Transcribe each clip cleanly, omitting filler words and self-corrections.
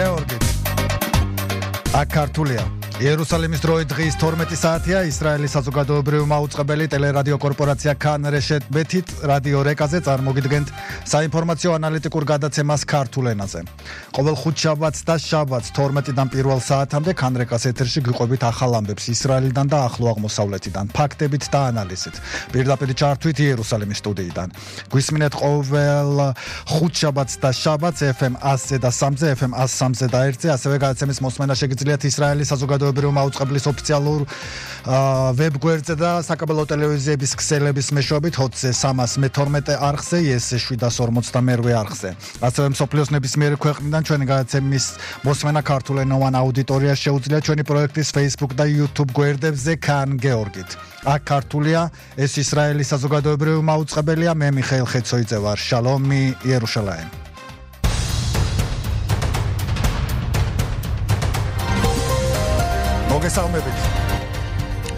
გეორგით. აქ-ქართულია. იერუსალიმის დროით დღის 12 საათია. ისრაელის საზოგადოებრივი მაუწყებელი ტელერადიო კორპორაცია Kan Reshet Bet-ით რადიო რეკაზე წარმოგიდგენთ საინფორმაციო ანალიტიკურ გადაცემას ქართულ ენაზე. ყოველ ხუთშაბათს და შაბათს 12-დან 1 საათამდე Kan Rekas ეთერში გიყვებით ახალ ამბებს ისრაელიდან და ახლო აღმოსავლეთიდან, ფაქტებით და ანალიზით. პირდაპირ ჩართვით იერუსალიმის სტუდიიდან. გვისმინეთ ყოველ ხუთშაბათს და შაბათს FM 100-ზე და 3-ზე, FM 103-ზე და 1-ზე, ასევე გადაცემის მოსმენა შეგიძლიათ ისრაელის საზოგადოებრივი მაუწყებლის ოფიციალურ ვებგვერდზე და საკაბელო ტელევიზიების ქსელების მეშვეობით HOT-ზე 312 არხზე, YES-ზე 752 არხზე. ასევე მსოფლიოს ნებისმიერი ქვეყნიდან ჩვენი გადაცემის მოსმენა ქართულენოვან აუდიტორიას შეუძლია ჩვენი პროექტის Facebook და YouTube გვერდებზე Kan Georgit. აქ-ქართულია, ეს ისრაელის საზოგადოებრივი მაუწყებელია, მე მიხეილ ხეცოიძე ვარ. შალომი იერუშალაიმ.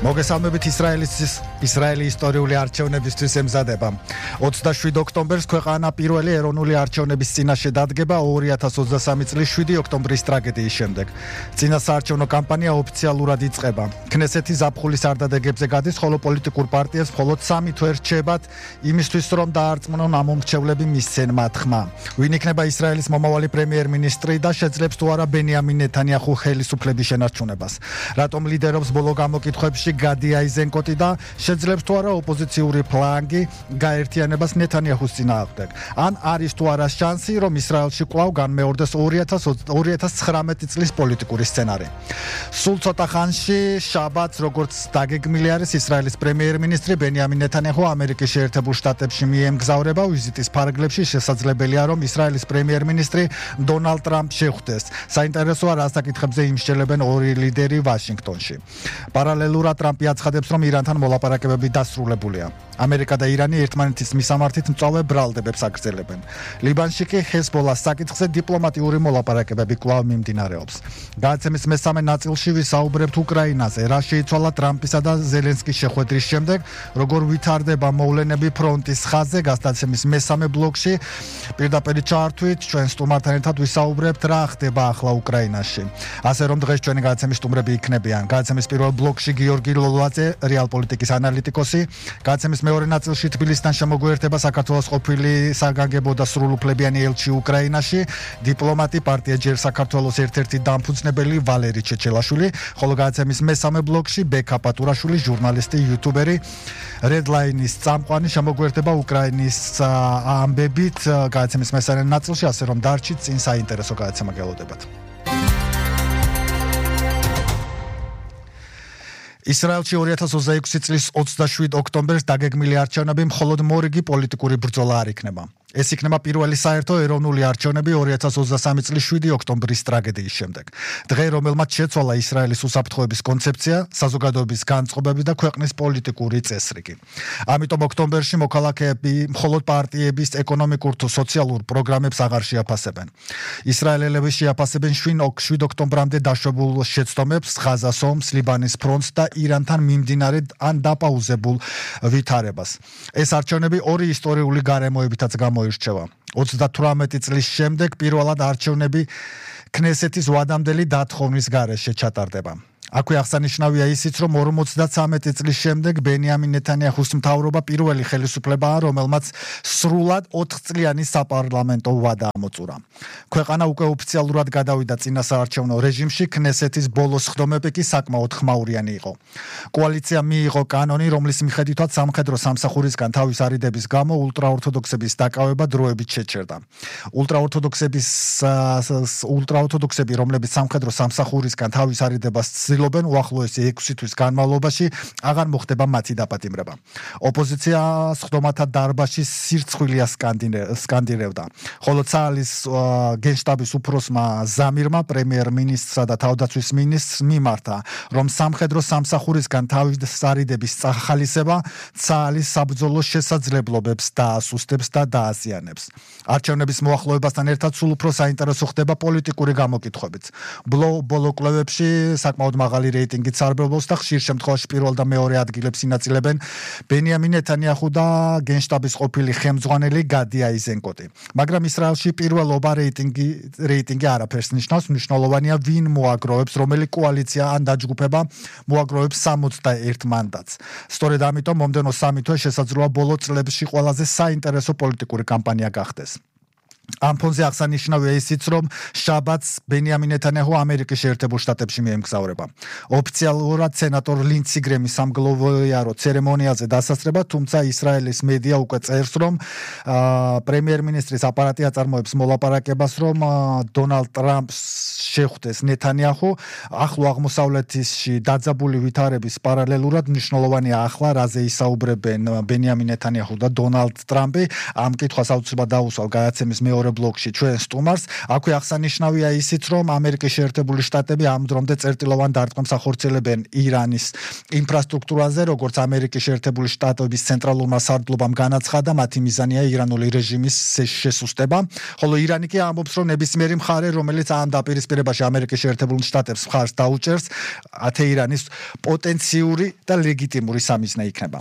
მოგესალმებით ისრაელის ისტორიული არჩევნებისთვის ემზადება. 27 ოქტომბერს ქვეყანა პირველი ეროვნული არჩევნების წინაშე დადგება 2023 წლის 7 ოქტომბრის ტრაგედიის შემდეგ. წინასაარჩევნო კამპანია ოფიციალურად იწყება. ქნესეთი ზაფხულის არდადეგებზე გადის, ხოლო პოლიტიკურ პარტიებს მხოლოდ 3 თვე რჩებათ იმისთვის, რომ დაარწმუნონ ამ მომრჩევლები მისცენ მათ ხმა. ვინ იქნება ისრაელის მომავალი პრემიერ-მინისტრი და შეძლებს თუ არა ბენიამინ ნეთანიაჰუ ხელისუფლების შენარჩუნებას. რატომ ლიდერობს ბოლო გამოკითხვებში გადი აიზენკოტი და შეძლებს თუ არა ოპოზიციური ფლანგი გაერთიანებას ნეთანიაჰუს წინააღმდეგ. ან არის თუ არა შანსი, რომ ისრაელში კვლავ განმეორდეს 2019 წლის პოლიტიკური სცენარი. სულ ცოტა ხანში შაბათს, როგორც დაგეგმილი არის, ისრაელის პრემიერ-მინისტრი ბენიამინ ნეთანიაჰუ ამერიკის შეერთებულ შტატებში მიემგზავრება. ვიზიტის ფარგლებში შესაძლებელია, რომ ისრაელის პრემიერ-მინისტრი დონალდ ტრამპს შეხვდეს. საინტერესოა, რა საკითხებზე იმსჯელებენ ორი ლიდერი ვაშინგტონში. პარალელურად ტრამპი აცხადებს, რომ ირანთან მოლაპარაკებები დასრულებულია. ამერიკა და ირანი ერთმანეთის მისამართით მწვავე ბრალდებებს აგრძელებენ. ლიბანში კი ჰეზბოლას საკითხზე დიპლომატიური მოლაპარაკებები კვლავ მიმდინარეობს. გადაცემის მესამე ნაწილში ვისაუბრებთ უკრაინაზე, რა შეიცვალა ტრამპისა და ზელენსკის შეხვედრის შემდეგ, როგორ ვითარდება მოვლენები ფრონტის ხაზზე. გადაცემის მესამე ბლოკში პირდაპირ ჩართვით ჩვენ სტუმართან ერთად ვისაუბრებთ, რა ხდება ახლა უკრაინაში. ასე რომ დღეს ჩვენი გადაცემის სტუმრები იქნებიან. გადაცემის პირველ ბლოკში გიორგი ლოლაძე, რეალ პოლიტიკის ანალიტიკოსი, გადაცემის მეორე ნაწილში თბილისიდან შემოგვიერთება საქართველოს ყოფილი საგანგებო და სრულუფლებიანი ელჩი უკრაინაში, დიპლომატი, პარტია ჯერ საქართველოს ერთ-ერთი დამფუძნებელი ვალერი ჩეჩელაშვილი, ხოლო გადაცემის მესამე ბლოკში ბექა პატურაშვილი, ჟურნალისტი, იუთუბერი, Redline-ის წამყვანი შემოგვიერთება უკრაინის ამბებით გადაცემის მესამე ნაწილში, ასე რომ დარჩით, წინ საინტერესო გადაცემა გელოდებათ. ისრაელში 2026 წლის 27 ოქტომბერს დაგეგმილი არჩევნები მხოლოდ მორიგი პოლიტიკური ბრძოლა არ იქნება. ეს იქნება პირველი საერთო ეროვნული არჩევნები 2023 წლის 7 ოქტომბრის ტრაგედიის შემდეგ. დღე, რომელმაც შეცვალა ისრაელის უსაფრთხოების კონცეფცია, საზოგადოების განწყობები და ქვეყნის პოლიტიკური წესრიგი. ამიტომ ოქტომბერში მოქალაქეები მხოლოდ პარტიების ეკონომიკურ თუ სოციალურ პროგრამებს აღარ შეაფასებენ. ისრაელელები შეაფასებენ 7 ოქტომბრამდე დაშვებულ შეცდომებს, ღაზას ომს, ლიბანის ფრონტს და ირანთან მიმდინარე ან დაპაუზებულ ვითარებას. ეს არჩევნები ორი ისტორიული გარემოებითაც გამოირჩევა. 38 წლის შემდეგ პირველად არჩევნები ქნესეთის ვადამდელი დათხოვნის გარეშე ჩატარდება. აქვე აღსანიშნავია ისიც, რომ 53 წლის შემდეგ ბენიამინ ნეთანიაჰუს მთავრობა პირველი ხელისუფლებაა, რომელმაც სრულად 4 წლიანი საპარლამენტო ვადა ამოწურა. ქვეყანა უკვე ოფიციალურად გადავიდა წინასაარჩევნო რეჟიმში, ქნესეთის ბოლო სხდომები კი საკმაოდ ხმაურიანი იყო. კოალიცია მიიღო კანონი, რომლის მიხედვითაც სამხედრო სამსახურისგან თავის არიდების გამო ულტრაორთოდოქსების დაკავება დროებით შეჩერდა. ულტრაორთოდოქსები, რომლებიც სამხედრო სამსახურისგან თავის არიდებას უახლოესი 6 თვის განმავლობაში აღარ მოხდება მათი დაპატიმრება. ოპოზიცია სხდომათა დარბაზში სირცხვილია სკანდირებდა. ხოლო ცაალის გენშტაბის უფროსმა ზამირმა პრემიერ-მინისტრსა და თავდაცვის მინისტრს მიმართა, რომ სამხედრო სამსახურისგან თავის არიდების წახალისება ცაალის საბრძოლო შესაძლებლობებს დაასუსტებს და დააზიანებს. არჩევნების მოახლოებასთან ერთად სულ უფრო საინტერესო ხდება პოლიტიკური გამოკითხვებიც. ბოლო კვლევებში საკმაოდ მაღალი მაღალი რეიტინგით სარბლობს და ხშირ შემთხვევაში პირველ და მეორე ადგილებს ინაწილებენ ბენიამინ ნეთანიაჰუ და გენშტაბის ყოფილი ხელმძღვანელი გადი აიზენკოტი. მაგრამ ისრაელში პირველობა რეიტინგი არაფერს ნიშნავს, მნიშვნელოვანია ვინ მოაგროვებს, რომელი კოალიცია ან დაჯგუფება მოაგროვებს 61 მანდატს. სწორედ ამიტომ მომდევნო სამი თვე შესაძლოა ბოლო წლებში ყველაზე საინტერესო პოლიტიკური კამპანია გახდეს. ამ ფონზე აღსანიშნავია ისიც, რომ შაბათს ბენიამინ ნეთანიაჰუ ამერიკის შეერთებულ შტატებში მიემგზავრება. ოფიციალურად სენატორ ლინდსი გრემი სამგლოვიარო ცერემონიალზე დასასრება, თუმცა ისრაელის მედია უკვე წერს, რომ პრემიერ-მინისტრის აპარატი აწარმოებს მოლაპარაკებას, რომ დონალდ ტრამპს შეხვდეს ნეთანიაჰუ. ახლო აღმოსავლეთში დაძაბული ვითარების პარალელურად მნიშვნელოვანია ახლა, რაზე ისაუბრებენ ბენიამინ ნეთანიაჰუ და დონალდ ტრამპი. ამ კითხვას აუცილებლად დაუსვავ გადაცემის მეორე ბლოკში ჩვენ სტუმარს. აქვე აღსანიშნავია ისიც, რომ ამერიკის შეერთებული შტატები ამ დრომდე წერტილოვან დარტყმას ახორციელებენ ირანის ინფრასტრუქტურაზე, როგორც ამერიკის შეერთებული შტატების ცენტრალურმა სარდლობამ განაცხადა, მათი მიზანია ირანული რეჟიმის შესუსტება, ხოლო ირანი კი ამბობს, რომ ნებისმიერი მხარე, რომელიც ამ დაპირისპირებაში ამერიკის შეერთებულ შტატებს მხარს დაუჭერს, თეირანის პოტენციური და ლეგიტიმური სამიზნე იქნება.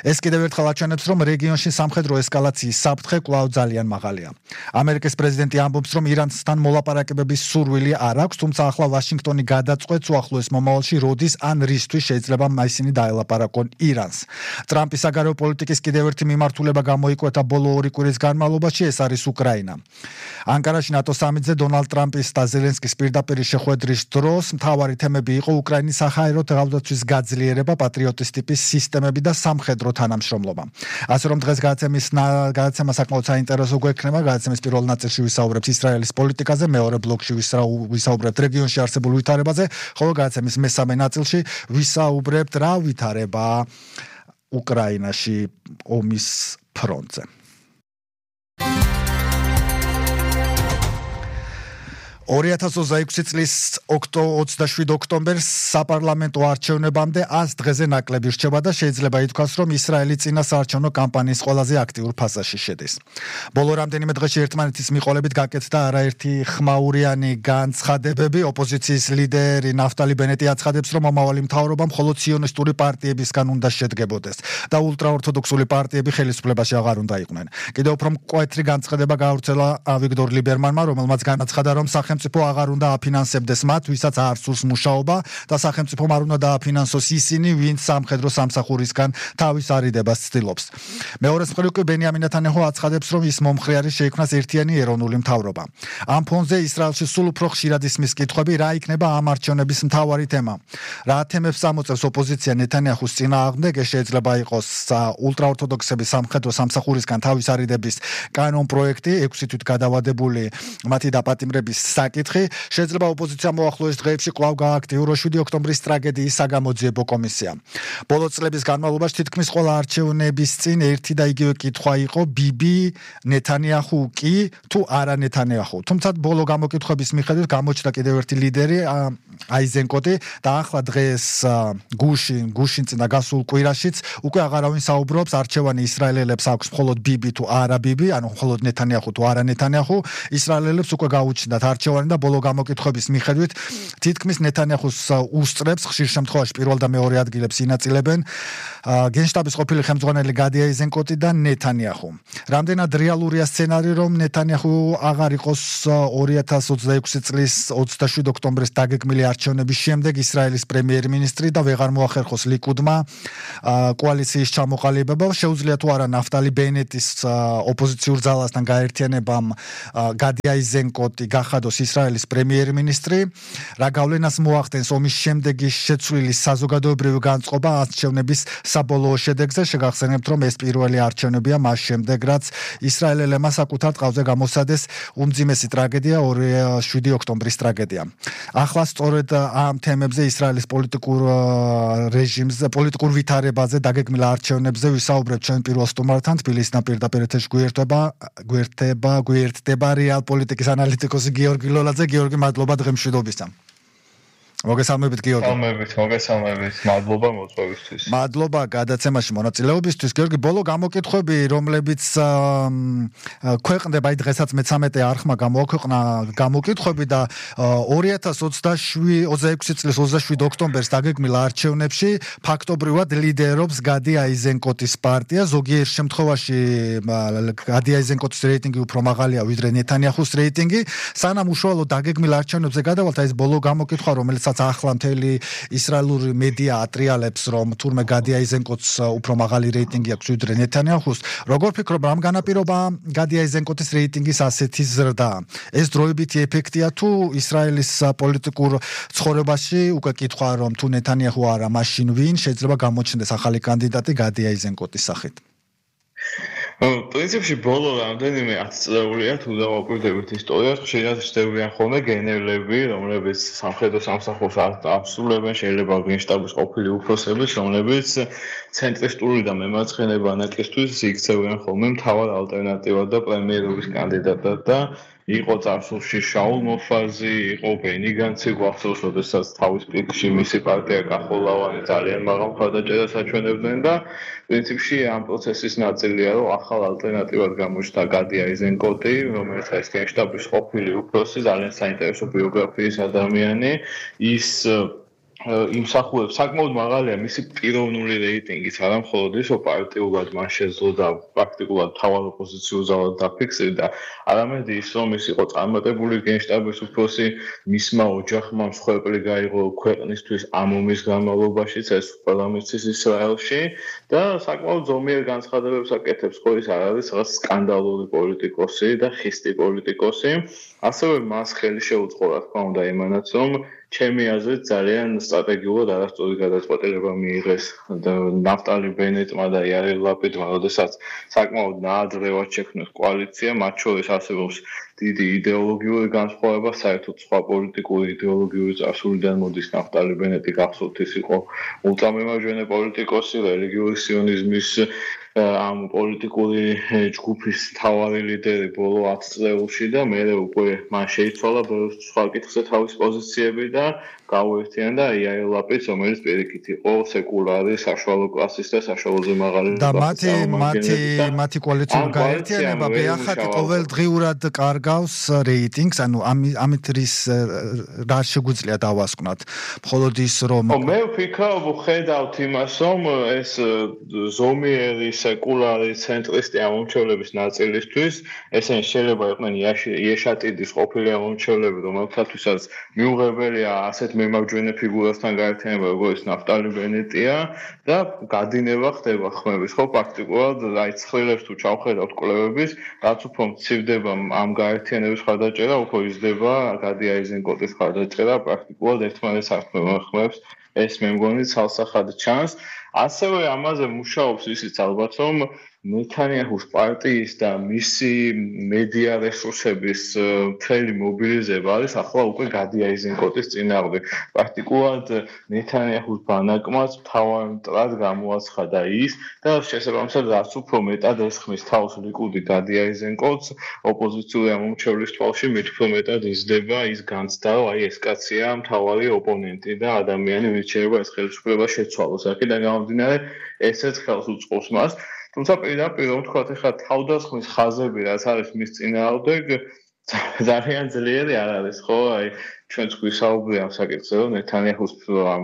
ეს კიდევ ერთხელ აჩვენებს, რომ რეგიონში სამხედრო ესკალაციის საფრთხე კვლავ ძალიან მაღალია. ამერიკის პრეზიდენტი ამბობს, რომ ირანთან მოლაპარაკებების სურვილი არ აქვს, თუმცა ახლა ვაშინგტონი გადაწყვეტს უახლოეს მომავალში როდის ან რისთვის შეიძლება ისინი დაელაპარაკონ ირანს. ტრამპის საგარეო პოლიტიკის კიდევ ერთი მიმართულება გამოიკვეთა ბოლო 2 კვირის განმავლობაში, ეს არის უკრაინა. ანკარაში ნატო სამიტზე დონალდ ტრამპის და ზელენსკის პირდაპირ შეხვედრის დროს მთავარი თემები იყო უკრაინის საჰაერო თავდაცვის გაძლიერება, პატრიოტის ტიპის სისტემები და სამხედრო თანამშრომლობა. ასე რომ დღეს გადაცემა საკმაოდ საინტერესო გვექნება. გადაცემის პირველ ნაწილში ვისაუბრებთ ისრაელის პოლიტიკაზე, მეორე ბლოკში ვისაუბრებთ რეგიონში არსებულ ვითარებაზე, ხოლო გადაცემის მესამე ნაწილში ვისაუბრებთ რა ვითარება უკრაინაში ომის ფრონტზე. 2026 წლის 27 ოქტომბერს საპარლამენტო არჩევნებამდე 100 დღეზე ნაკლები რჩება და შეიძლება ითქვას, რომ ისრაელი წინა საარჩევნო კამპანიის ყველაზე აქტიურ ფაზაში შედის. ბოლო რამდენიმე დღეში ერთმანეთის მიყოლებით გაკეთდა არაერთი ხმაურიანი განცხადებები. ოპოზიციის ლიდერი ნაფტალი ბენეტი აცხადებს, რომ მომავალი მთავრობა მხოლოდ ციონისტური პარტიებისგან უნდა შედგებოდეს და ულტრაორთოდოქსული პარტიები ხელისუფლებაში აღარ უნდა იყვნენ. კიდევ უფრო მკვეთრი განცხადება გაავრცელა ავიგდორ ლიბერმანმა, რომელმაც განაცხადა, რომ სახელმწიფო აღარ უნდა აფინანსებდეს მათ, ვისაც არ სურს მუშაობა და სახელმწიფომ არ უნდა დააფინანსოს ისინი, ვინც სამხედრო სამსახურისგან თავის არიდებას ცდილობს. მეორე მხრივ კი ბენიამინ ნეთანიაჰუ აცხადებს, რომ ის მომხრე არის შეიქმნას ერთიანი ეროვნული მთავრობა. ამ ფონზე ისრაელში სულ უფრო ხშირად ისმის კითხვები, რა იქნება ამ არჩევნების მთავარი თემა. რა თემებს ამოწევს ოპოზიცია ნეთანიაჰუს წინააღმდეგ, ეს შეიძლება იყოს ულტრაორთოდოქსების სამხედრო სამსახურისგან თავის არიდების კანონ პროექტი, 6 თვით გადავადებული მათი დაპატიმრების საკითხი. შეიძლება ოპოზიციამ მოახლოეს დღეებში კვლავ გააქტიუროს 7 ოქტომბრის ტრაგედიის საგამოძიებო კომისია. ბოლო წლების განმავლობაში თითქმის ყველა არჩევნების წინ ერთი და იგივე კითხვა იყო, ბიბი ნეთანიაჰუ კი თუ არა ნეთანიაჰუ. თუმცა ბოლო გამოკითხვების მიხედვით გამოჩნდა კიდევ ერთი ლიდერი აიზენკოტი და ახლა დღეს გუშინ წინა გასულ კვირაშიც უკვე აღარავინ საუბრობს, არჩევანი ისრაელელებს აქვს მხოლოდ ბიბი თუ არა ბიბი, ანუ მხოლოდ ნეთანიაჰუ თუ არა ნეთანიაჰუ. ისრაელელებს უკვე გაუჩნდათ არჩევანი და ბოლო გამოკითხვების მიხედვით თითქმის ნეთანიაჰუს უსწრებს, ხშირ შემთხვევაში პირველ და მეორე ადგილებს ინაწილებენ გენშტაბის ყოფილი ხელმძღვანელი გადი აიზენკოტი და ნეთანიაჰუ. რამდენად რეალურია სცენარი, რომ ნეთანიაჰუ აღარ იყოს 2026 წლის 27 ოქტომბრის დაგეგმილი არჩევნების შემდეგ ისრაელის პრემიერ-მინისტრი და ვეღარ მოახერხოს ლიკუდმა კოალიციის ჩამოყალიბება, შეუძლია თუ არა ნაფტალი ბენეტის ოპოზიციურ ძალასთან გაერთიანებამ გადი აიზენკოტი გახადოს ისრაელის პრემიერ-მინისტრი, რა გავლენას მოახდენს ომის შემდეგი შეცვლილი საზოგადოებრივი განწყობა არჩევნების საბოლოო შედეგზე. შეგახსენებთ, რომ ეს პირველი არჩევნებია მას შემდეგ, რაც ისრაელელებმა საკუთარ ტყავზე გამოსცადეს უმძიმესი ტრაგედია 7 ოქტომბრის ტრაგედია. ახლა სწორედ ამ თემებზე ისრაელის პოლიტიკურ რეჟიმზე, პოლიტიკურ ვითარებაზე, დაგეგმილ არჩევნებზე ვისაუბრებთ ჩვენ პირველ სტუმართან. თბილისიდან პირდაპირ ეთერში გვერდება რეალ პოლიტიკის ანალიტიკოსი გიორგი ლოლაძე. გიორგი, მადლობა დღემშვიდობისა. მოგესალმებით გიორგი. მოგესალმებით. მადლობა მოწვევისთვის. მადლობა გადაცემაში მონაწილეობისთვის. გიორგი, ბოლო გამოკითხვები, რომლებიც ქვეყნდება, აი დღესაც მე-13 არხმა გამოაქვეყნა გამოკითხვები და 2026 წლის 27 ოქტომბერს დაგეგმილ არჩევნებში ფაქტობრივად ლიდერობს გადი აიზენკოტის პარტია. ზოგიერთ შემთხვევაში გადი აიზენკოტის რეიტინგი უფრო მაღალია ვიდრე ნეთანიაჰუს რეიტინგი. სანამ უშუალოდ დაგეგმილ არჩევნებზე გადავალთ, ეს ბოლო გამოკითხვა, რომელიც ახლა მთელი ისრაელური მედია ატრიალებს, რომ თურმე გადი აიზენკოტს უფრო მაღალი რეიტინგი აქვს ვიდრე ნეთანიაჰუს. როგორ ფიქრობ, რამ განაპირობა გადი აიზენკოტის რეიტინგის ასეთი ზრდა? ეს დროებითი ეფექტია თუ ისრაელის პოლიტიკურ ცხოვრებაში უკვე კითხვა, რომ თუ ნეთანიაჰუ არა, მაშინ ვინ შეიძლება გამოჩნდეს ახალი კანდიდატი გადი აიზენკოტის სახით? პრინციპში ბოლო რამდენიმე 10 წლეულია თუ დავაკვირდებით ისტორიას, ხშირად ჩნდებიან ხოლმე გენერლები, რომლებიც სამხედრო სამსახურს ასრულებენ, შეიძლება გენშტაბის ყოფილი უფროსებიც, რომლებიც ცენტრისტული და მემარცხენე ბანაკისთვის იქცევენ ხოლმე მთავარ ალტერნატივად და პრემიერობის კანდიდატად და იყო წარსულში შაულ მოფაზი, იყო ბენი განცი, გვახსოვს, როდესაც თავის პიკში მისი პარტია კახოლავანი ძალიან მაღალ მხარდაჭერას აჩვენებდნენ და პრინციპში ამ პროცესის ნაწილია, რომ ახალ ალტერნატივად გამოჩნდა გადი აიზენკოტი, რომელიც არის გენშტაბის ყოფილი უფროსი, ძალიან საინტერესო ბიოგრაფიის ადამიანი, ის იმსახურებს საკმაოდ მაღალია მისი პიროვნული რეიტინგიც, არა მხოლოდ ის, რომ პარტიულად მან შეძლო და პრაქტიკულად მთავარ ოპოზიციურ ზავად დაფიქსირდა, არამედ ის, რომ ის იყო წარმატებული გენშტაბის უფროსი, მისმა ოჯახმა მსხვერპლი გაიღო ქვეყნისთვის ამ ომის განმავლობაშიც, ეს ყველა მისთვის ისრაელში და საკმაოდ ზომიერ განცხადებებს აკეთებს, ხო ის არ არის რაღაც სკანდალური პოლიტიკოსი და ხისტი პოლიტიკოსი, ასევე მას ხელი შეუწყო, რა თქმა უნდა, იმანაც, რომ ჩემი აზრით ძალიან სტრატეგიულად არასწორი გადაწყვეტილება მიიღეს ნაფტალი ბენეტმა და იაირ ლაპიდმა, როდესაც საკმაოდ ნაადრევად შექმნეს კოალიცია, მათ შორის არსებობს დიდი იდეოლოგიური განსხვავება, საერთოდ სხვა პოლიტიკური იდეოლოგიური წარსულიდან მოდის ნაფტალი ბენეტი, გახსოვთ ის იყო ულტრამემარჯვენე პოლიტიკოსი, რელიგიური სიონიზმის ამ პოლიტიკური ჯგუფის მთავარი ლიდერი ბოლო 10 წლებში და მერე უკვე მან შეიცვალა სხვა კითხზე თავის პოზიციები და გაუერთიანდა იაირ ლაპიდს, რომელიც პირიქით იყო სეკულარი, საშუალო კლასის და საშუალოზე მაღალი და მათი კოალიციური გაერთიანება ბეახატი ყოველდღიურად კარგავს რეიტინგს, ანუ ამით რის რა შეგვიძლია დავასკვნათ? მხოლოდ ის რომ მე ვფიქრობ, ხედავთ იმას, რომ ეს ზომიერი სეკულარი ცენტრისტი ამომრჩევლების ნაწილისთვის, ესენი შეიძლება იყვნენ იეშატიდის ყოფილი ამომრჩევლები, რომელთათვისაც მიუღებელია ასეთ მემარჯვენე ფიგურასთან გაერთიანება, როგორც ნაფტალი ბენეტია და გადინება ხდება ხმების, ხო, პრაქტიკულად აი ცხრილებს თუ ჩავხედავთ კვლევების, რაც უფრო მცირდება ამ გაერთიანების ხარდაჭერა, უფრო იზრდება გადი აიზენკოტის ხარდაჭერა, პრაქტიკულად ერთმანეთს არ ხმებს, ეს მე მგონი ცალსახად ჩანს. ასევე ამაზე მუშაობს ისიც ალბათ, რომ ნეთანიაჰუს პარტიის და მისი მედია რესურსების მთელი მობილიზება არის ახლა უკვე გადი აიზენკოტის წინააღმდეგ. პრაქტიკულად ნეთანიაჰუს ბანაკმაც მთავარ მტრად გამოაცხადა ის და შესაბამისად რაც უფრო მეტად ესხმის თავს ლიკუდი გადი აიზენკოტს, ოპოზიციური ამომრჩევლის თვალში მით უფრო მეტად იზრდება ის განცდა, რომ აი ეს კაცია მთავარი ოპონენტი და ადამიანი, ვინც შეიძლება ეს ხელისუფლება შეცვალოს. აქედან გამომდინარე, ესეც ხელს უწყობს მას. თუმცა პირდაპირ რომ ვთქვათ, ეხლა თავდასხმის ხაზები რაც არის მის წინააღმდეგ ძალიან ძლიერი არ არის, ხო? აი ჩვენც გვისაუბრია ამ საკითხზე, რომ ნეთანიაჰუს ამ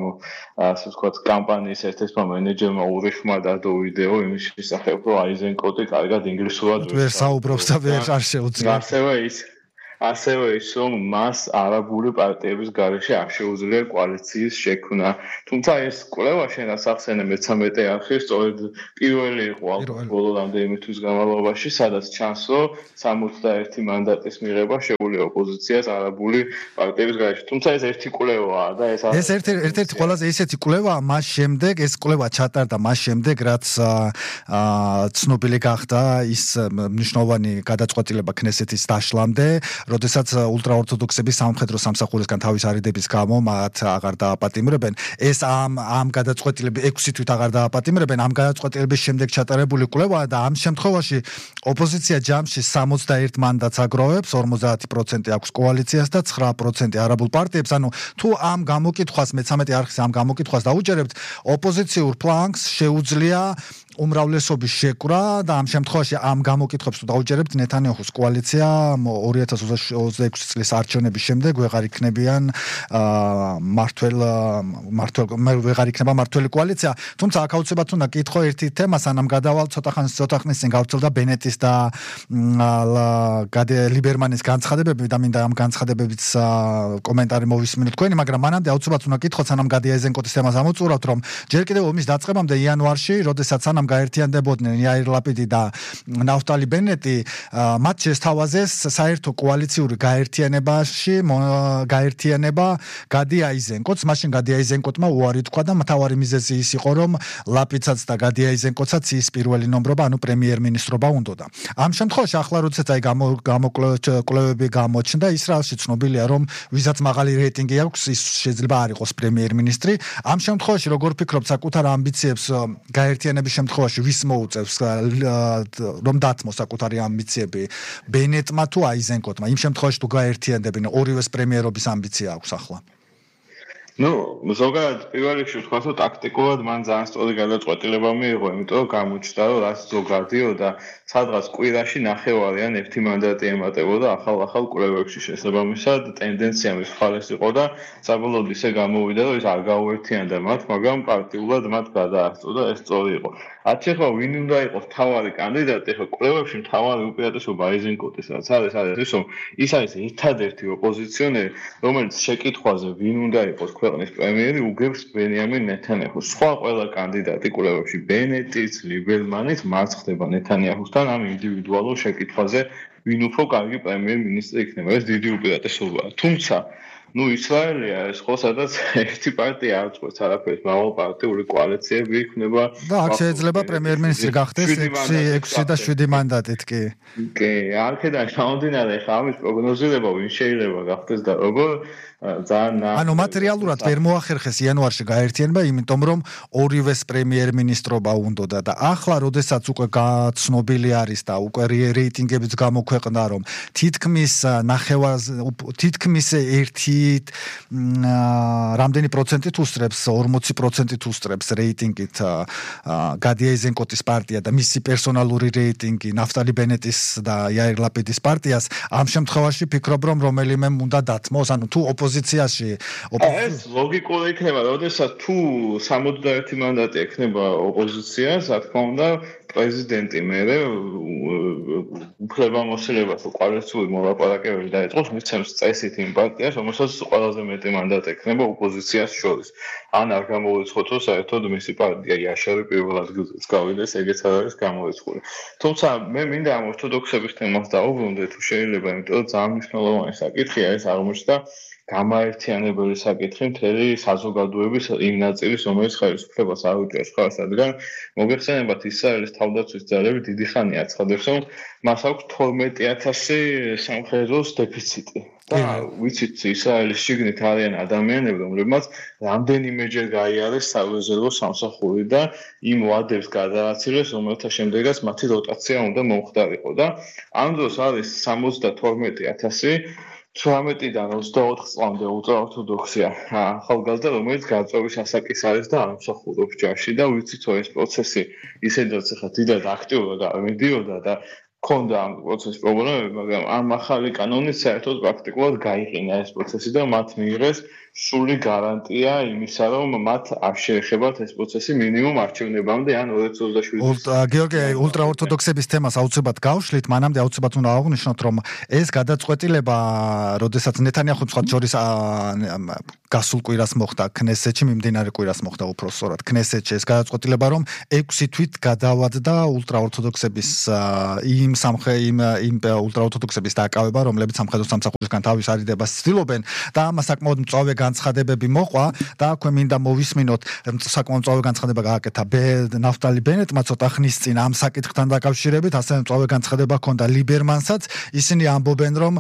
ასე ვთქვათ კამპანიის ერთ-ერთმა მენეჯერმა ურიხმა დადო ვიდეო იმის შესახებ, რომ აიზენკოტი კარგად ინგლისურად ვერ საუბრობს და ვერ არ შეუძლია. ასევე ის, რომ მას არაბული პარტიების გარეშე არ შეუძლია კოალიციის შექმნა. თუმცა ეს კვლევა შენას ახსენე მე-13 არხი სწორედ პირველი იყო ბოლო რამდენიმე თვის განმავლობაში, სადაც ჩანს, რომ 61 მანდატის მიღება შეუძლია ოპოზიციას არაბული პარტიების გარეშე. თუმცა ეს ერთი კვლევაა და ეს ერთ-ერთი ყველაზე ისეთი კვლევაა მას შემდეგ, ეს კვლევა ჩატარდა მას შემდეგ, რაც ცნობილი გახდა ის მნიშვნელოვანი გადაწყვეტილება ქნესეთის დაშლამდე, როდესაც ულტრაორთოდოქსები სამხედრო სამსახურისგან თავის არიდების გამო მათ აღარ დააპატიმრებენ. ეს ამ გადაწყვეტილების 6 თვით აღარ დააპატიმრებენ. ამ გადაწყვეტილების შემდეგ ჩატარებული კვლევაა და ამ შემთხვევაში ოპოზიცია ჯამში 61 მანდატს აგროვებს, 50% აქვს კოალიციას და 9% არაბულ პარტიებს. ანუ თუ ამ გამოკითხვას მე-13 არხის ამ გამოკითხვას დაუჯერებთ, ოპოზიციურ ფლანგს შეუძლია უმრავლესობის შეკვრა და ამ შემთხვევაში ამ გამოკითხვებს თუ დაუჯერებთ, ნეთანიაჰუს კოალიცია 2026 წლის არჩევნების შემდეგ ვეღარ იქნება მართველი კოალიცია. თუმცა აქ აუცილებლად უნდა კითხო ერთი თემა, სანამ გადავალ ცოტა ხნის წინ გავრცელდა ბენეტის და ლიბერმანის განცხადებები და მინდა ამ განცხადებების კომენტარი მოვისმინოთ თქვენი, მაგრამ მანამდე აუცილებლად უნდა კითხოთ, სანამ გადი აიზენკოტის თემას ამოწურავთ, რომ ჯერ კიდევ ომის დაწყებამდე იანვარში, როდესაც სანამ გაერთიანდებოდნენ იაირ ლაპიდი და ნაფტალი ბენეტი, მათ შესთავაზეს საერთო კოალიციური გაერთიანება გადი აიზენკოტს. მაშინ გადი აიზენკოტმა უარი თქვა და მთავარი მიზეზი ის იყო, რომ ლაპიცაც და გადი აიზენკოტსაც ის პირველი ნომრობა, ანუ პრემიერ-მინისტრობა უნდოდა. ამ შემთხვევაში ახლა როდესაც კვლევები გამოჩნდა, ისრაელში ცნობილია, რომ ვისაც მაღალი რეიტინგი აქვს, ის შეიძლება არ იყოს პრემიერ-მინისტრი. ამ შემთხვევაში როგორ ფიქრობთ, საკუთარ ამბიციებს გაერთიანების შემთხვევაში ვის მოუწევს რომ დათმოს საკუთარი ამბიციები ბენეტმა თუ აიზენკოტმა? იმ შემთხვევაში თუ გაერთიანდებიან, ორივეს პრემიერობის ამბიცია აქვს ახლა. ზოგადად პირველ რიგში ვთქვა, რომ ტაქტიკულად მან ძალიან სწორი გადაწყვეტილება მიიღო, იმიტომ რომ გამოჩნდა, რომ რაც ზოგადიო და სადღაც კვირაში ნახევარი ან 1 მანდატი ემატებოდა ახალ კვლევებში შესაბამისად, ტენდენცია მის მხარეს იყო და საბოლოოდ ისე გამოვიდა, რომ ის არ გაუერთიანდა მათ, მაგრამ პარტიულად მათ გადაასწრო და ეს სწორი იყო. ახლა ვინ უნდა იყოს მთავარი კანდიდატი? ახლა კვლევებში მთავარი უპირატესობა აიზენკოტისაც არის ის, რომ ის არის ერთადერთი ოპოზიციონერი, რომელიც შეკითხვაზე ვინ უნდა იყოს ქვეყნის პრემიერი უგებს ბენიამინ ნეთანიაჰუს. სხვა ყველა კანდიდატი კვლევებში ბენეტიც, ლიბერმანიც მას ხდება ნეთანიაჰუსთან ამ ინდივიდუალურ შეკითხვაზე, ვინ უფრო კარგი პრემიერ-მინისტრი იქნება. ეს დიდი უპირატესობაა. თუმცა ისრაელია ეს ხო, სადაც ერთი პარტია არ წყვეტს არაფერს, მრავალპარტიული კოალიციები იქნება და აქ შეიძლება პრემიერ-მინისტრი გახდეს 6 და 7 მანდატით კი. კი, აქედან გამომდინარე, ხა ამის პროგნოზირება ვინ შეიძლება გახდეს და როგორ ანუ მატერიალურად ვერ მოახერხეს იანვარში გაერთიანება, იმიტომ რომ ორივეს პრემიერ-მინისტრობა უნდოდა და ახლა როდესაც უკვე გაცნობილი არის და უკვე რეიტინგებიც გამოქვეყნდა, რომ თითქმის რამდენი პროცენტით უსწრებს, 40%-ით უსწრებს რეიტინგით გადი აიზენკოტის პარტია და მისი პერსონალური რეიტინგი ნაფტალი ბენეტის და იაირ ლაპიდის პარტიას. ამ შემთხვევაში ფიქრობ, რომ რომელიმე უნდა დათმოს, ანუ თუ ოპოზიციაში ეს ლოგიკური იქნება, როდესაც თუ 61 მანდატი ექნება ოპოზიციას, რა თქმა უნდა, პრეზიდენტი მერე უფლებამოსილებას კოალიციური მოლაპარაკებები დაიწყოს, მისცემს წესით იმ პარტიას, რომელსაც ყველაზე მეტი მანდატი ექნება ოპოზიციას შორის. ან არ გამოვიწყოთ, რომ საერთოდ მისი პარტია იაშარი პირველ ადგილზეც გავიდეს, ეგეც არ არის გამოვიწყული. თუმცა მე მინდა ამ ორთოდოქსების თემას დავუბრუნდე, თუ შეიძლება, იმიტომ რომ ძალიან მნიშვნელოვანი საკითხია ეს აღმოჩნდა გამაერთიანებელი საკითხი მთელი საზოგადოების იმ ნაწილის, რომელიც ხელისუფლებას არ უჭერს ხარს, რადგან მოგეხსენებათ ისრაელის თავდაცვის ძალები დიდი ხანია აცხადებს, რომ მას აქვს 12,000 სამხედროს დეფიციტი. და ვიცით, ისრაელის შიგნით არიან ადამიანები, რომლებმაც რამდენიმეჯერ გაიარეს სარეზერვო სამსახური და იმ ვადებს გადააცილეს, რომელთა შემდეგაც მათი როტაცია უნდა მომხდარიყო და ამ დროს არის 72,000 18-დან 24 წლამდე ულტრაორთოდოქსია ახალგაზრდა, რომელიც გაწევის ასაკის არის და არ მსახურობს ჯარში და ვიცით, რომ ეს პროცესი ისედაც ხა დიდად აქტიურად მიდიოდა და ქონდა ამ პროცესის პრობლემები, მაგრამ ამ ახალი კანონით საერთოდ პრაქტიკულად გაიყინა ეს პროცესი და მათ მიიღეს სრული გარანტია იმისა, რომ მათ არ შეეხებათ ეს პროცესი მინიმუმ არჩევნებამდე ან 2027. გიორგი, ულტრაორთოდოქსების თემას აუცილებლად გავშლით, მანამდე აუცილებლად უნდა აღვნიშნოთ, რომ ეს გადაწყვეტილება, როდესაც ნეთანიაჰუს მხარს შორის გასულ კვირას მოხდა ქნესეთში, მიმდინარე კვირას მოხდა უფრო სწორად ქნესეთში ეს გადაწყვეტილება, რომ 6 თვით გადავადდა ულტრაორთოდოქსების იმ ულტრაორთოდოქსების დაკავება, რომლებიც სამხედრო სამსახურისგან თავის არიდებას ცდილობენ და ამას საკმაოდ მწვავე განცხადებები მოყვა და აქვე მინდა მოვისმინოთ საკმაოდ მწვავე განცხადება გააკეთა ნაფტალი ბენეტმა ცოტა ხნის წინ ამ საკითხთან დაკავშირებით, ასევე მწვავე განცხადება ჰქონდა ლიბერმანსაც. ისინი ამბობენ, რომ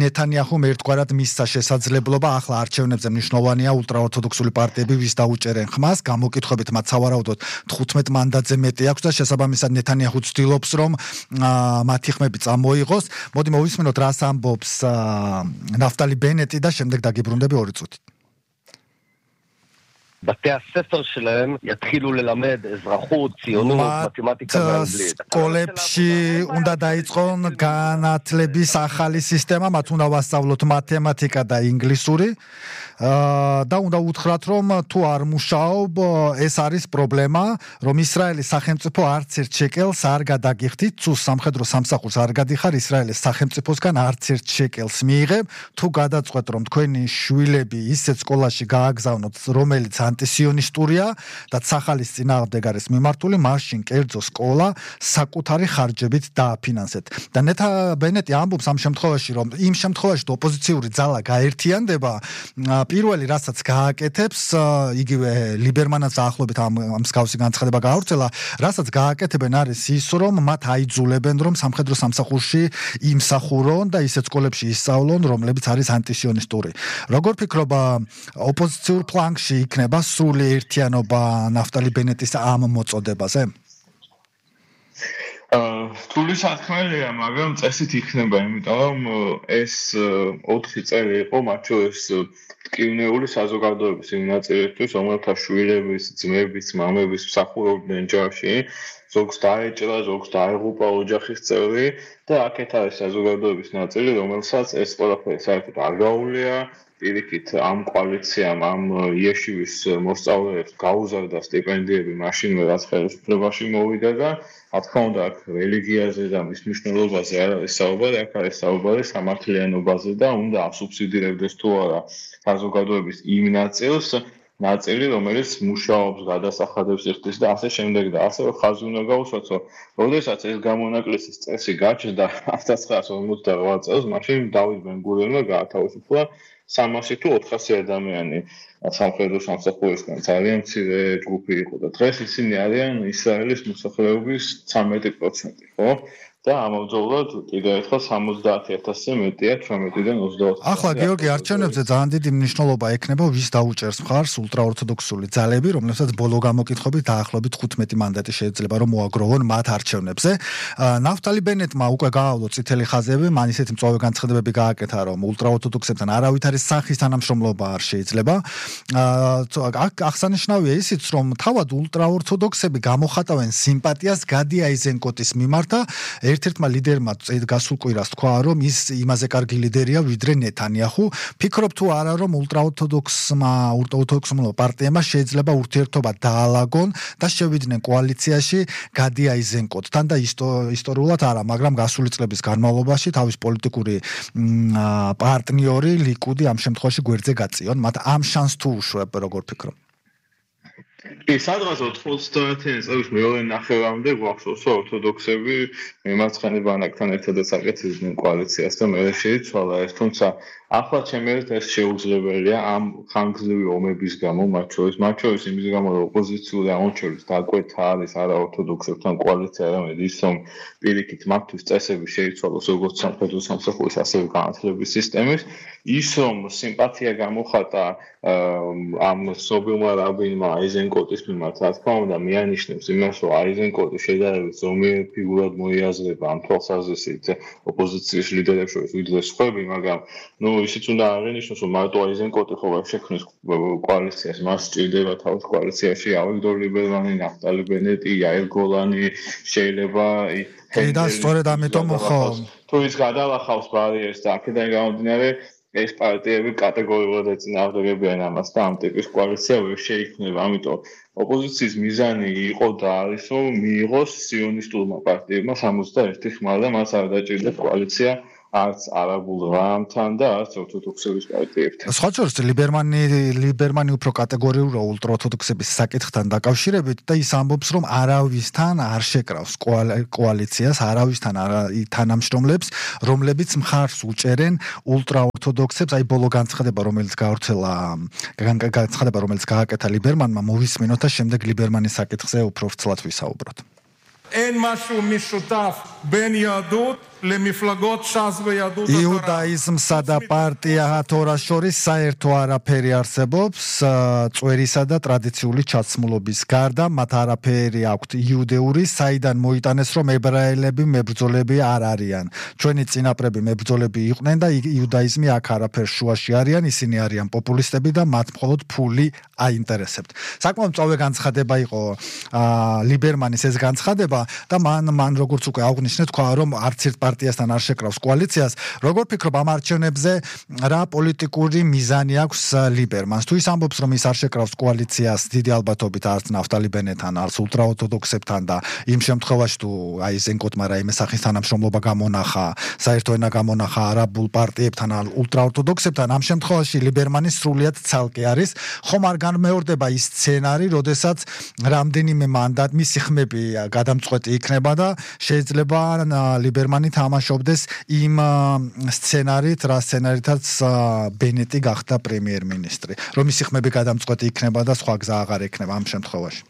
ნეთანიაჰუმ ერთგვარად მისცა შესაძლებლობა ახლა არჩევნებზე მნიშვნელოვანია ულტრაორთოდოქსული პარტიები ვის დაუჭერენ ხმას, გამოკითხვებით მათ სავარაუდოდ 15 მანდატზე მეტი აქვს და შესაბამისად ნეთანიაჰუ ცდილობს, რომ მათი ხმები წამოიღოს. მოდი მოვისმინოთ, რას ამბობს ნაფტალი ბენეტი და შემდეგ დაგიბრუნდები 2 წუთით. בתי הספר שלהם יתחילו ללמד אזרחות, ציונות, מתמטיקה ואנגלית. სკოლებში უნდა დაიწყონ განათლების ახალი სისტემა, მათ უნდა ვასწავლოთ მათემატიკა და ინგლისური. და უნდა უთხრათ, რომ თუ არ მუშაობ, ეს არის პრობლემა, რომ ისრაელის სახელმწიფო არც ერთ შეკელს არ გადაგიხდით, თუ სამხედრო სამსახურს არ გადიხარ ისრაელის სახელმწიფოსგან არც ერთ შეკელს მიიღებ, თუ გადაწყვეტ, რომ თქვენი შვილები ისეთ სკოლაში გააგზავნოთ, რომელიც ანტისიონისტურია და სახალის წინააღმდეგ არის მიმართული, მაშინ კერძო სკოლა საკუთარი ხარჯებით დააფინანსეთ. და ნეთა ბენეტი ამბობს ამ შემთხვევაში, რომ იმ შემთხვევაში ოპოზიციური ძალა გაერთიანდება, პირველი რასაც გააკეთებს, იგივე ლიბერმანაც დაახლოებით ამ მსგავსი განცხადება გაავრცელა, რასაც გააკეთებენ არის ის, რომ მათ აიძულებენ, რომ სამხედრო სამსახურში იმსახურონ და ისეთ სკოლებში ისწავლონ, რომლებიც არის ანტისიონისტური. როგორ ფიქრობ, ოპოზიციურ ფლანგში იქნება სრული ერთიანობა ნაფტალი ბენეტის ამ მოწოდებაზე? რთული საქმეა, მაგრამ წესით იქნება, იმიტომ რომ ეს 4 წელი იყო, მათ შორის ტკივნეული საზოგადოების იმ ნაწილისთვის, რომელთა შვილების, ძმების, მამების მსახურობდნენ ჯარში, ზოგს დაეჭრა, ზოგს დაეღუპა ოჯახის წევრი და აქეთ არის საზოგადოების ნაწილი, რომელსაც ეს ყველაფერი საერთოდ არ გაუვლია. პირიქით ამ კოალიციამ, ამ იეშივის მოსწავლეებს გაუზარდა სტიპენდიები მაშინვე, რაც ხელისუფლებაში მოვიდა და რა თქმა უნდა, აქ რელიგიაზე და მის მნიშვნელობაზე არ არის საუბარი, აქ არის საუბარი სამართლიანობაზე და უნდა ასუბსიდირებდეს თუ არა საზოგადოების იმ ნაწილი, რომელიც მუშაობს, გადასახადებს იხდის და ასე შემდეგ და ასევე ხაზი უნდა გაუსვათ, რომ როდესაც ეს გამონაკლისის წესი გაჩნდა 1948 წელს, მაშინ დავით ბენ-გურიონმა გაათავისუფლა 300 თუ 400 ადამიანი სამხედრო სამსახურისგან, ძალიან მცირე ჯგუფი იყო და დღეს ისინი არიან ისრაელის მოსახლეობის 13%, ხო? და ამავდროულად კიდევ ერთხელ 70,000-ზე მეტია 18-დან 24. ახლა გიორგი, არჩევნებზე ძალიან დიდი მნიშვნელობა ექნება ვის დაუჭერს მხარს ულტრაორთოდოქსული ძალები, რომლებსაც ბოლო გამოკითხვებით დაახლოებით 15 მანდატი შეიძლება რომ მოაგროვონ მათ არჩევნებზე. ნაფტალი ბენეტმა უკვე გაავლო წითელი ხაზები, მან ისეთი მწვავე განცხადებები გააკეთა, რომ ულტრაორთოდოქსებთან არავითარი სახის თანამშრომლობა არ შეიძლება. აღსანიშნავია ისიც, რომ თავად ულტრაორთოდოქსები გამოხატავენ სიმპათიას გადი აიზენკოტის მიმართ და ერთ-ერთმა ლიდერმა გასულ კვირას თქვა, რომ ის იმაზე კარგი ლიდერია, ვიდრე ნეთანიაჰუ. ფიქრობ თუ არა, რომ ულტრაორთოდოქსმა პარტიებმა შეიძლება ურთიერთობა დაალაგონ და შევიდნენ კოალიციაში გადი აიზენკოტთან და ისტორიულად არა, მაგრამ გასული წლების განმავლობაში თავის პოლიტიკური პარტნიორი ლიკუდი ამ შემთხვევაში გვერდზე გაწიონ. მათ ამ შანსს თუ უშვებ, როგორ ფიქრობ? სადღაც 90-იანი წლების მეორე ნახევარამდე გვახსოვს, რომ ორთოდოქსები მემარცხენე ბანაკთან ერთადაც აკეთებდნენ კოალიციას და მე შეიცვალა ეს, თუმცა ახლა ჩემი აზრით ეს შეუძლებელია ამ ხანგრძლივი ომების გამო, მათ შორის იმის გამო, რომ ოპოზიციური აღმოჩენის დაკვეთა არის არაორთოდოქსებთან კოალიცია, არამედ ის, რომ პირიქით მათთვის წესები შეიცვალოს როგორც სამხედრო სამსახურის, ასევე განათლების სისტემის, ის რომ სიმპათია გამოხატა ამ სობილმა რაბინმა აიზენკოტის მიმართ, რა თქმა უნდა, მიანიშნებს იმას, რომ აიზენკოტი შედარებით ზომიერი ფიგურად მოიაზრება ამ თვალსაზრისით ოპოზიციის ლიდერებს შორის, ვიდრე სხვები, მაგრამ ისიც უნდა აღინიშნოს, რომ მარტო აიზენკოტი ხო ვერ შექმნის კოალიციას, მას სჭირდება თავის კოალიციაში ავიგდორ ლიბერმანი, ნაფტალი ბენეტი, იაირ გოლანი, შეიძლება და სწორედ ამიტომ ხო თუ ის გადალახავს ბარიერს და აქედან გამომდინარე ეს პარტიები კატეგორიულად ეწინააღმდეგებიან ამას და ამ ტიპის კოალიცია ვერ შეიქმნება. ამიტომ ოპოზიციის მიზანი იყო და არის, რომ მიიღოს სიონისტურმა პარტიებმა 61 ხმა და მას არ დაჭირდა კოალიცია არც არაბულ რამთან და არც ორთოდოქსების პარტიებთან. სხვა შორის ლიბერმანი უფრო კატეგორიურია ულტრაორთოდოქსების საკითხთან დაკავშირებით და ის ამბობს, რომ არავისთან არ შეკრავს კოალიციას, არავისთან არ თანამშრომლებს, რომლებიც მხარს უჭერენ ულტრაორთოდოქსებს, აი ბოლო განცხადება, რომელიც გააკეთა ლიბერმანმა, მოვისმინოთ და შემდეგ ლიბერმანის საკითხზე უფრო ვრცლად ვისაუბროთ. אין משהו משותף בין יהדות למפלגות ש"ס ויהדות התורה. იუდაიზმსა და პარტია თორას შორის საერთო არაფერი არსებობს, წვერისა და ტრადიციული ჩაცმულობის გარდა, მათ არაფერი აქვთ იუდეური, საიდან მოიტანეს, რომ ებრაელები მებრძოლები არ არიან. ჩვენი წინაპრები მებრძოლები იყვნენ და იუდაიზმი აქ არაფერს შუაში არიან, ისინი არიან პოპულისტები და მათ მხოლოდ ფული აინტერესებთ. საკმაოდ მწვავე განცხადება იყო ლიბერმანის ეს განცხადება და მან როგორც უკვე აღნიშნეთ, თქვა, რომ არც ერთ პარტიასთან არ შეკრავს კოალიციას. როგორ ფიქრობ ამ არჩევნებზე რა პოლიტიკური მიზანი აქვს ლიბერმანს? თუ ის ამბობს, რომ ის არ შეკრავს კოალიციას დიდი ალბათობით არც ნაფტალი ბენეტთან, არც ულტრაორთოდოქსებთან და იმ შემთხვევაში თუ აიზენკოტმა რაიმე სახის თანამშრომლობა გამონახა, საერთო ენა გამონახა არაბულ პარტიებთან, ულტრაორთოდოქსებთან, ამ შემთხვევაში ლიბერმანი სრულიად ცალკე არის. ხომ არ განმეორდება ის სცენარი, როდესაც რამდენიმე მანდატი მისი ხმები გადამწყვეტი იქნება და შეიძლება ლიბერმანი თამაშობდეს იმ სცენარით, რა სცენარითაც ბენეტი გახდა პრემიერ-მინისტრი, რომ მისი ხმები გადამწყვეტი იქნება და სხვა გზა აღარ ექნება ამ შემთხვევაში.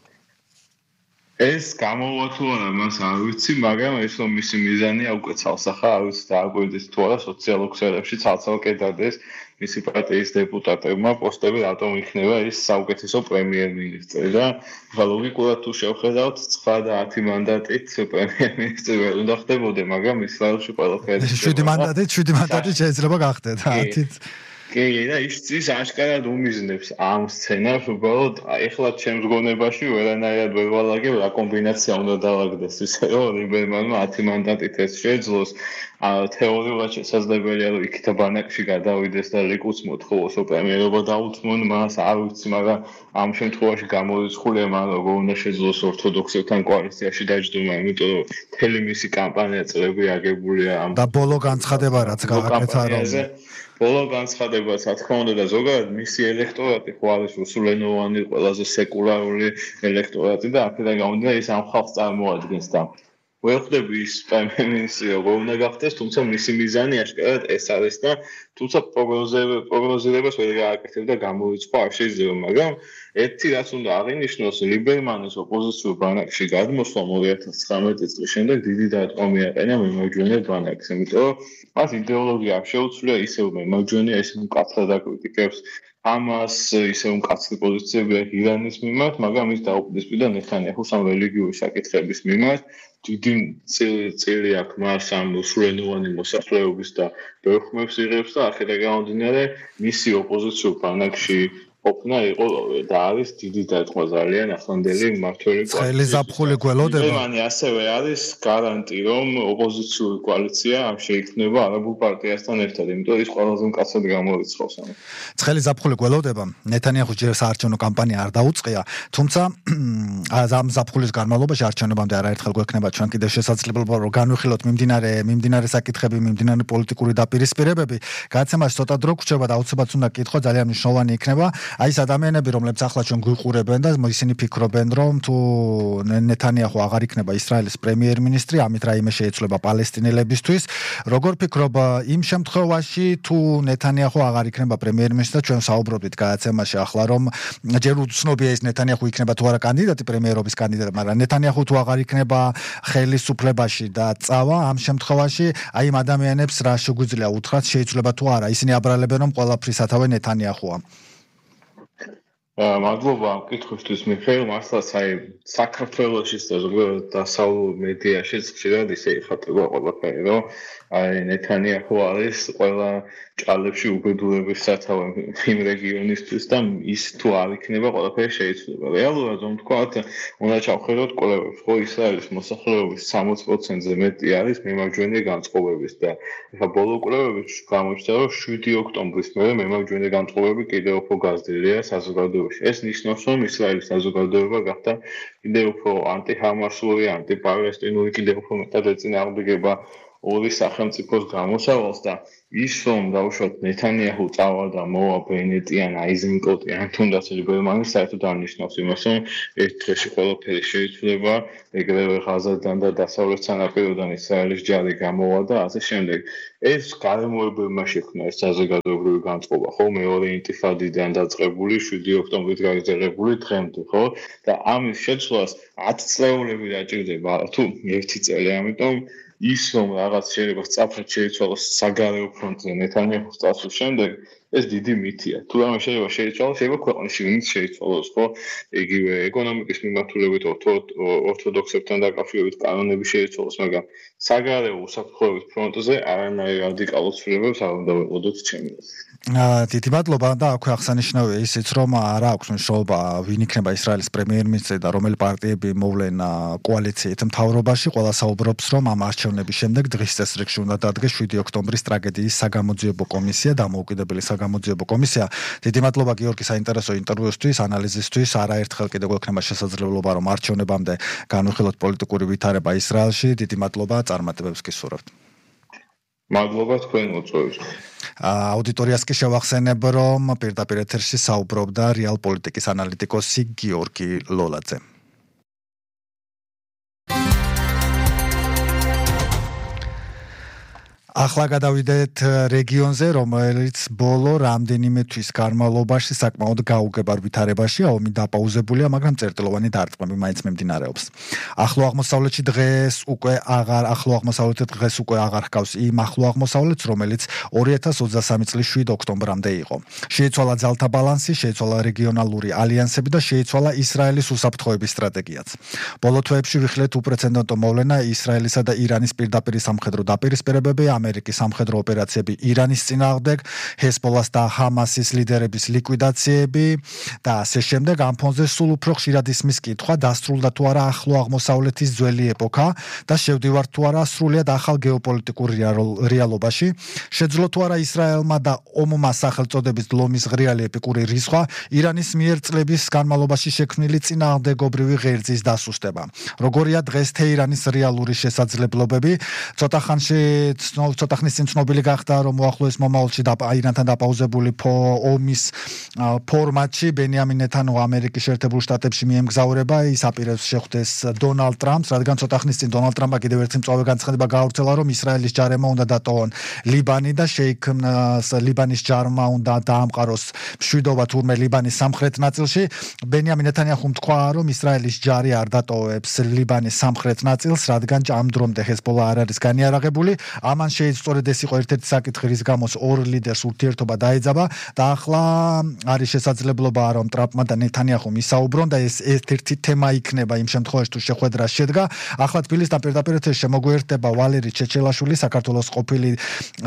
ეს გამოვა თუ არა, მას არ ვიცი, მაგრამ ეს რომ მისი მიზანია უკვე ცალსახა, არ ვიცი დააკვირდეს თუ არა სოციალურ ქსელებში ცალ-ცალკე დადეს მისი პარტიის დეპუტატებმა პოსტები რატომ იქნება ის საუკეთესო პრემიერ-მინისტრი და ლოგიკურად თუ შევხედავთ 9 და 10 მანდატით პრემიერ-მინისტრი ვერ უნდა ხდებოდა, მაგრამ ისრაელში ყველაფერი 7 მანდატით შეიძლება გახდეთ 10-ით. კი, და ის აშკარად უმიზნებს ამ სცენარს, უბრალოდ ეხლა ჩემს გონებაში ვერანაირად ვერ ვალაგებ რა კომბინაცია უნდა დავაგდეს, ისე რომ ლიბერმანმა 10 მანდატით ეს შეძლოს. თეორიულად შესაძლებელია, რომ იქით ბანაკში გადავიდეს და ლიკუდს მოთხოვოს პრემიერობა დაუთმონ მას, არ ვიცი, მაგრამ ამ შემთხვევაში გამორიცხულია მან როგორ უნდა შეძლოს ორთოდოქსებთან კოალიციაში დაჯდომა, იმიტომ რომ მთელი მისი კამპანია წლები აგებულია ამ და ბოლო განცხადება რაც გააკეთა რომ ბოლო განცხადება, რა თქმა უნდა და ზოგადად მისი ელექტორატი ხო არის რუსულენოვანი, ყველაზე სეკულარული ელექტორატი და აქედან გამომდინარე ის ამ ხალხს წარმოადგენს და ვერ ხდები ის პრემიერ-მინისტრი როგორ უნდა გახდეს, თუმცა მისი მიზანი აშკარად ეს არის და თუმცა პროგნოზირებას ვერ გააკეთებ და გამორიცხვა არ შეიძლება, მაგრამ ერთი რაც უნდა აღინიშნოს, ლიბერმანის ოპოზიციურ ბანაკში გადმოსვლა 2019 წლის შემდეგ დიდი დარტყმა მიაყენა მემარჯვენე ბანაკს, იმიტომ რომ მას იდეოლოგია არ შეუცვლია, ისევ მემარჯვენეა, ისევ მკაცრად აკრიტიკებს ამას, ისევ მკაცრი პოზიციები აქვს ირანის მიმართ, მაგრამ ის დაუპირისპირდა ნეთანიაჰუს ამ რელიგიური საკითხების მიმართ. დიდი წილი აქვს მას ამ რუსულენოვანი მოსახლეობის და ბევრ ხმებს იღებს და აქედან გამომდინარე მისი ოპოზიციურ ბანაკში ყოფნა იყო და არის დიდი დარტყმა ძალიან ახლანდელი მმართველი ცხელი ზაფხული გველოდება. ლიბერმანი ასევე არის გარანტი, რომ ოპოზიციური კოალიცია ამ შეიქმნება არაბულ პარტიასთან ერთად, იმიტომ ის ყველაზე მკაცრად გამორიცხავს ამას. ცხელი ზაფხული გველოდება. ნეთანიაჰუს ჯერ საარჩევნო კამპანია არ დაუწყია, თუმცა ამ ზაფხულის განმავლობაში არჩევნებამდე არაერთხელ გვექნება ჩვენ კიდევ შესაძლებლობა რომ განვიხილოთ მიმდინარე საკითხები, მიმდინარე პოლიტიკური დაპირისპირებები. გადაცემაში ცოტა დრო გვჭირდება და აუცილებლად უნდა კითხო, ძალიან მნიშვნელოვანი იქნება. აი ეს ადამიანები, რომლებიც ახლა ჩვენ გვიყურებენ და ისინი ფიქრობენ, რომ თუ ნეთანიაჰუ აღარ იქნება ისრაელის პრემიერ-მინისტრი, ამით რაიმე შეეცვლება პალესტინელებისთვის. როგორ ფიქრობ იმ შემთხვევაში, თუ ნეთანიაჰუ აღარ იქნება პრემიერ-მინისტრი და ჩვენ საუბრობთ გადაცემაში ახლა, რომ ჯერ უცნობია ის ნეთანიაჰუ იქნება თუ არა კანდიდატი პრემიერობის კანდიდატი, მაგრამ ნეთანიაჰუ თუ აღარ იქნება ხელისუფლებაში და წავა, ამ შემთხვევაში აი იმ ადამიანებს რა შეგვიძლია უთხრათ, შეიძლება თუ არა, ისინი აბრალებენ, რომ ყველაფრის სათავე ნეთანიაჰუა. მადლობა ამ კითხვისთვის მიხეილ, მართლაც აი საქართველოშიც და ზოგადად დასავლურ მედიაშიც ხშირად ისე იხატება ყველაფერი, რომ აი ნეთანიაჰუ არის ყველა ჭალებში უბედურების სათავე იმ რეგიონისთვის და ის თუ არ იქნება ყველაფერი შეიცვლება. რეალურად რომ ვთქვათ, უნდა ჩავხედოთ კვლევებს, ხო ისრაელის მოსახლეობის 60%-ზე მეტი არის მემარჯვენე განწყობების და ეხლა ბოლო კვლევებში გამოჩნდა, რომ 7 ოქტომბრის მერე მემარჯვენე განწყობები კიდევ უფრო გაზრდილია საზოგადოებაში. ეს ნიშნავს, რომ ისრაელის საზოგადოება გახდა კიდევ უფრო ანტიჰამასური, ანტიპალესტინური, კიდევ უფრო მეტად ეწინააღმდეგება ორი სახელმწიფოს გამოსავალს და ის რომ დავუშვათ ნეთანიაჰუ წავა და მოვა ბენეტი ან აიზენკოტი ან თუნდაც ლიბერმანი საერთოდ არ ნიშნავს იმას რომ ერთ დღეში ყველაფერი შეიცვლება ეგრევე ღაზადან და დასავლეთ სანაპიროდან ისრაელის ჯარი გამოვა და ასე შემდეგ ეს გარემოებებმა შექმნა ეს საზოგადოებრივი განწყობა ხო მეორე ინტიფადიდან დაწყებული 7 ოქტომბრის გაგრძელებული დღემდე ხო და ამის შეცვლას 10 წლეულები დაჭირდება თუ 1 წელი ამიტომ ის რომ რაღაც შეიძლება სწრაფად შეიცვალოს საგარეო ფრონტზე ნეთანიაჰუს წასვლის შემდეგ ეს დიდი მითია თუ რამე შეიძლება შეიცვალოს შეიძლება ქვეყნის შიგნით შეიცვალოს ხო იგივე ეკონომიკის მიმართულებით ორთოდოქსებთან დაკავშირებით კანონები შეიცვალოს მაგრამ საგარეო უსაფრთხოების ფრონტზე არანაირ რადიკალურ ცვლილებებს არ უნდა ვეყოდოთ ჩემი დიდი მადლობა და აქვე აღსანიშნავია ისიც რომ არ აქვს მნიშვნელობა ვინ იქნება ისრაელის პრემიერ-მინისტრი და რომელი პარტიები მოვლენ კოალიციით მთავრობაში ყველა საუბრობს რომ ამ არჩევნების შემდეგ დღის წესრიგში უნდა დადგეს 7 ოქტომბრის ტრაგედიის საგამოძიებო კომისია დამოუკიდებელი საგამოძიებო კომისია დიდი მადლობა გიორგი საინტერესო ინტერვიუსთვის ანალიზისთვის არაერთხელ კიდევ გვექნება შესაძლებლობა რომ არჩევნებამდე განვიხილოთ პოლიტიკური ვითარება ისრაელში დიდი მადლობა წარმატებებს გისურვებთ მადლობა თქვენ მოწვევით აუდიტორიას კი შევახსენებ რომ პირდაპირ ეთერში საუბრობდა რეალ პოლიტიკის ანალიტიკოსი გიორგი ლოლაძე ახლა გადავიდეთ რეგიონზე, რომელიც ბოლო რამდენიმე თვის განმავლობაში საკმაოდ გაუგებარ ვითარებაშია, ომი დაპაუზებულია, მაგრამ წერტილოვანი დარტყმები მაინც მიმდინარეობს. ახლო აღმოსავლეთში დღეს უკვე აღარ ჰგავს იმ ახლო აღმოსავლეთს, რომელიც 2023 წლის 7 ოქტომბრამდე იყო. შეიცვალა ძალთა ბალანსი, შეიცვალა რეგიონალური ალიანსები და შეიცვალა ისრაელის უსაფრთხოების სტრატეგიაც. ბოლო თვეებში ვიხილეთ უპრეცედენტო მოვლენა ისრაელისა და ირანის პირდაპირ სამხედრო დაპირისპირებები ამერიკის სამხედრო ოპერაციები ირანის წინააღმდეგ, ჰეზბოლას და ჰამასის ლიდერების ლიკვიდაციები და ასე შემდეგ. ამ ფონზე სულ უფრო ხშირად ისმის კითხვა, დასრულდა თუ არა ახლო აღმოსავლეთის ძველი ეპოქა და შევდივართ თუ არა სრულიად ახალ გეოპოლიტიკურ რეალობაში. შეძლო თუ არა ისრაელმა და ომმა სახელწოდების ლომის ღრიალი ეპიკური რისხვა ირანის მიერ წლების განმავლობაში შექმნილი წინააღმდეგობრივი ღერძის დასუსტება. როგორია დღეს თეირანის რეალური შესაძლებლობები? ცოტა ხნის წინ ცნობილი გახდა, რომ უახლოეს მომავალში ირანთან დაპაუზებული ომის ფორმატში ბენიამინ ნეთანიაჰუ ამერიკის შეერთებულ შტატებში მიემგზავრება. ის აპირებს შეხვდეს დონალდ ტრამპს, რადგან ცოტა ხნის წინ დონალდ ტრამპმა კიდევ ერთი მწვავე განცხადება გაავრცელა, რომ ისრაელის ჯარებმა უნდა დატოვონ ლიბანი და ლიბანის ჯარმა უნდა დაამყაროს მშვიდობა თურმე ლიბანის სამხრეთ ნაწილში. ბენიამინ ნეთანიაჰუმ თქვა, რომ ისრაელის ჯარი არ დატოვებს ლიბანის სამხრეთ ნაწილს, რადგან ამ დრომდე ჰეზბოლა არ არის განიარაღებული. ამან სწორედ ეს იყო ერთ-ერთი საკითხი, რის გამოც ორ ლიდერს ურთიერთობა დაეძაბა და ახლა არის შესაძლებლობა, რომ ტრამპმა და ნეთანიაჰუმ ისაუბრონ და ეს ერთ-ერთი თემა იქნება იმ შემთხვევაში, თუ შეხვედრა შედგა. ახლა თბილისთან პირდაპირ ეთერში შემოგვიერთდება ვალერი ჩეჩელაშვილი, საქართველოს ყოფილი